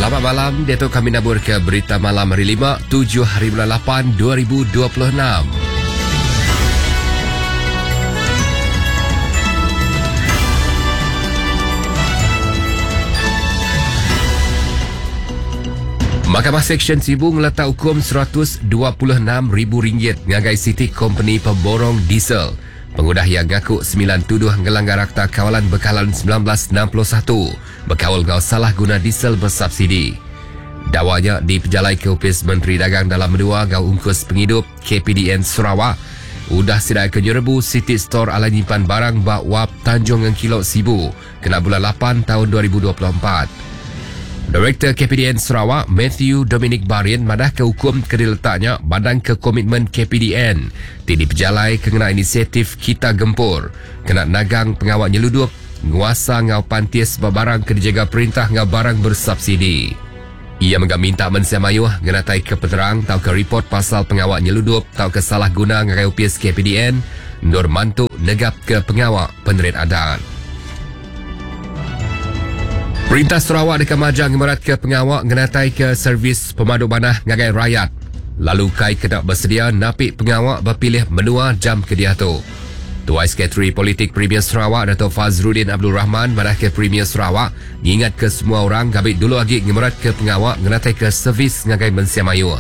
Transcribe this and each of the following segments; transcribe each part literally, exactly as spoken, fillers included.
Selamat malam, diatu kami nabur ke berita malam hari lima, tujuh hari bulan lapan, dua ribu dua puluh enam. Mahkamah Seksyen Sibu ngeletak hukum seratus dua puluh enam ribu ringgit ngagai City Company Pemborong Diesel. Pengudah yang ngaku sembilan tuduh ngelanggar Akta Kawalan Bekalan sembilan belas enam puluh satu berkawal ngau salah guna diesel bersubsidi. Dakwanya dipejalai ke Opis Menteri Dagang Dalam Menua ngau Ungkus Penghidup K P D N Sarawak. Udah sidai ke nyerebu City Store ala nyimpan barang bak wap Tanjung Engkilok Sibu kena bulan lapan tahun dua ribu dua puluh empat. Direktur K P D N Sarawak Matthew Dominic Barin madah ke hukum ke diletaknya badang ke komitmen K P D N ti dipejalai kena inisiatif Kita Gempur kena nagang pengawal nyeludup nguasa ngau pantis barang ke dijaga perintah ngau barang bersubsidi. Ia menggak minta mensia mayuh ngenatai ke penerang tau ke report pasal pengawal nyeludup tau ke salah guna ngagai U P S K P D N nur mantu negap ke pengawal penerit adat. Perintah Sarawak dekat majang ngemerat ke pengawal ngenatai ke servis pemaduk banah ngagai rakyat. Lalu kai kena bersedia napik pengawal berpilih menua jam ke dia tu. Tuai Sekretari Politik Premier Sarawak Dato' Fazruddin Abdul Rahman madah ke Premier Sarawak ngingat ke semua orang gabik dulu lagi ngemerat ke pengawal ngenatai ke servis ngagai mensia mayuh.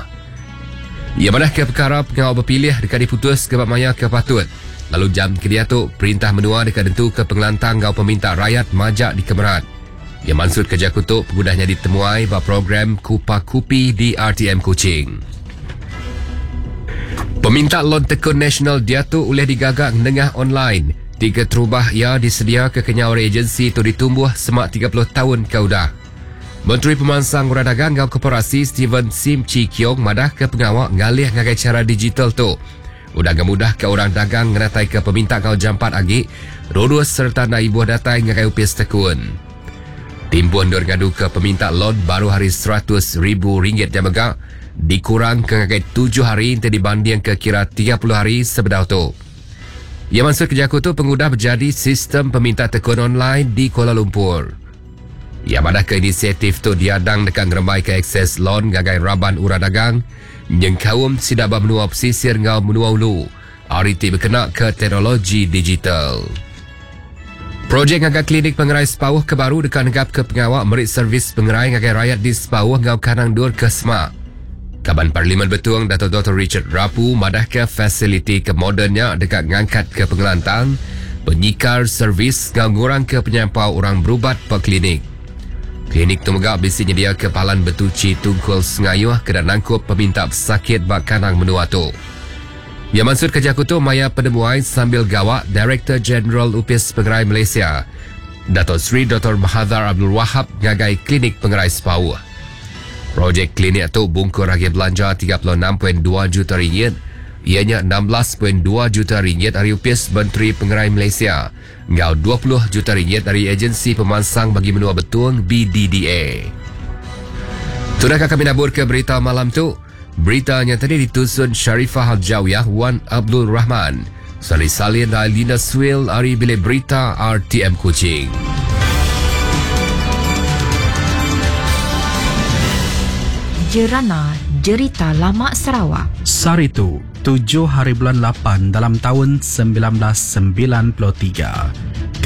Ia madah ke perkara pengawal berpilih dekat diputus ke bab maya ke patut. Lalu jam ke dia tu perintah menua dekat tentu ke pengelantang ngau peminta rakyat majak dikemerat. Ia maksud kerja kutuk pengudahnya ditemuai bab program Kupa Kupi di R T M Kuching. Peminta lon tekun nasional dia tu oleh digagak nengah online. Tiga terubah ia disedia ke kenyawar agensi tu ditumbuh semak tiga puluh tahun kaudah. Menteri Pemansang Urang Dagang ngau Koperasi Steven Sim Chee Keong madah ke pengawal ngalih ngagai cara digital tu. Udah gemudah ke orang dagang ngenatai ke peminta ngau jampat agi, rurus serta na ibuh datai ngagai upis tekun. Timpuh ndur ngadu ke peminta lon baru hari seratus ribu ringgit yang megak dikurang ke ngagai tujuh hari untuk dibanding ke kira tiga puluh hari sebedau tu. Ia maksud kerja aku tu pengudah berjadi sistem peminta tekun online di Kuala Lumpur. Ia madah ke inisiatif tu diadang dekat ngerembai ke akses lon ngagai raban urang dagang nyengkaum sidak ba menua pesisir ngau menua ulu. R T berkena ke teknologi digital. Projek ngagai klinik pengerai Sepauh ke baru dekat negap ke pengawal merik servis pengerai ngagai rakyat di Sepauh ngau Kanang Dur ke Semak. Kaban Parlimen Betung Dato' Doktor Richard Rapu madah ke fasiliti ke modernnya dekat ngangkat ke pengelantang, penyikar servis ngau ngurang ke penyampau orang berubat pe klinik. Klinik tu megak bisi nyedia ke palan betuci tungkul sengayuh ke dan nangkup peminta pesakit bak kanang menua tu. Yang maksud kerja kutu maya penemuai sambil gawak Director General Upis Pengerai Malaysia Dato' Sri Doktor Mahathir Abdul Wahab ngagai klinik pengerai Sepauh. Projek klinik tu bungkur lagi belanja tiga puluh enam perpuluhan dua juta ringgit, ianya enam belas perpuluhan dua juta ringgit dari Upis Menteri Pengerai Malaysia ngau dua puluh juta ringgit dari Agensi Pemansang Bagi Menua Betung B D D A. Sudah kami nabur ke berita malam tu. Beritanya tadi ditusun Sharifah Al-Jawiyah Wan Abdul Rahman. Salih Salin dan Lina Swil ari Bilik Berita R T M Kuching. Jerana Jerita Lama Sarawak. Saritu, tujuh hari bulan lapan dalam tahun sembilan belas sembilan puluh tiga.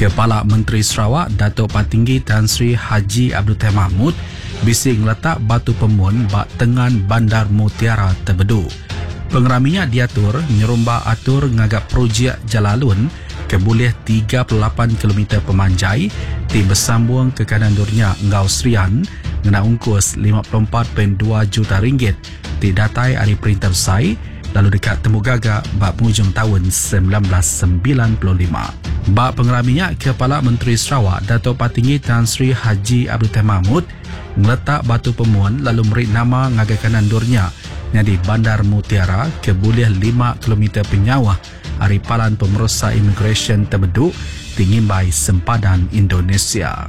Kepala Menteri Sarawak Datuk Patinggi Tan Sri Haji Abdul Taib Mahmud bisi ngeletak batu pemun bak tengan Bandar Mutiara Tebedu. Pengeraminya diatur nyerumba atur ngagak projek Jalalun ke boleh tiga puluh lapan kilometer pemanjai ti bersambung ke kanan durnya ngau Serian ngena ungkus lima puluh empat perpuluhan dua juta ringgit ti datai ari perintah besai lalu dekat Temu Gaga bak penghujung tahun sembilan belas sembilan puluh lima. Bak pengeraminya Kepala Menteri Sarawak Datuk Patinggi Tan Sri Haji Abdul Taib Mahmud ngeletak batu pemun lalu meri nama ngagai kanan durnya nyadi Bandar Mutiara ke boleh lima kilometer penyawah ari Palan Pemeriksa Immigration Tebedu tinggi sempadan Indonesia.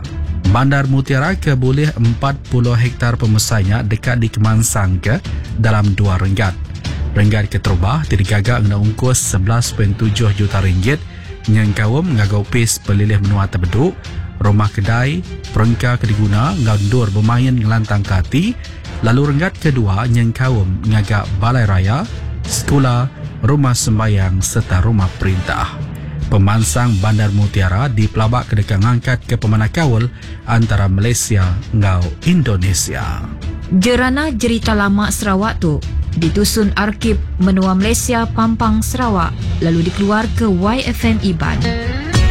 Bandar Mutiara ke boleh empat puluh hektar pemesainya dekat di Kemansang ke dalam dua renggat. Renggat keterubah digagak ngena ungkus sebelas perpuluhan tujuh juta ringgit nyengkaum ngagau pis pelilih menua Tebedu, rumah kedai, perengka ke diguna enggau endur bemain ngelantangka ati, lalu renggat kedua nyengkaum ngaga balai raya, sekula, rumah sembayang sereta rumah perintah. Pemansang Bandar Mutiara dipelabaka deka ngangkatka pemanah kaul antara Malaysia enggau Indonesia. Jerana Jerita Lama Sarawak tu ditusun Arkib Menua Malaysia Pampang Sarawak lalu dikeluarka Y F M Iban.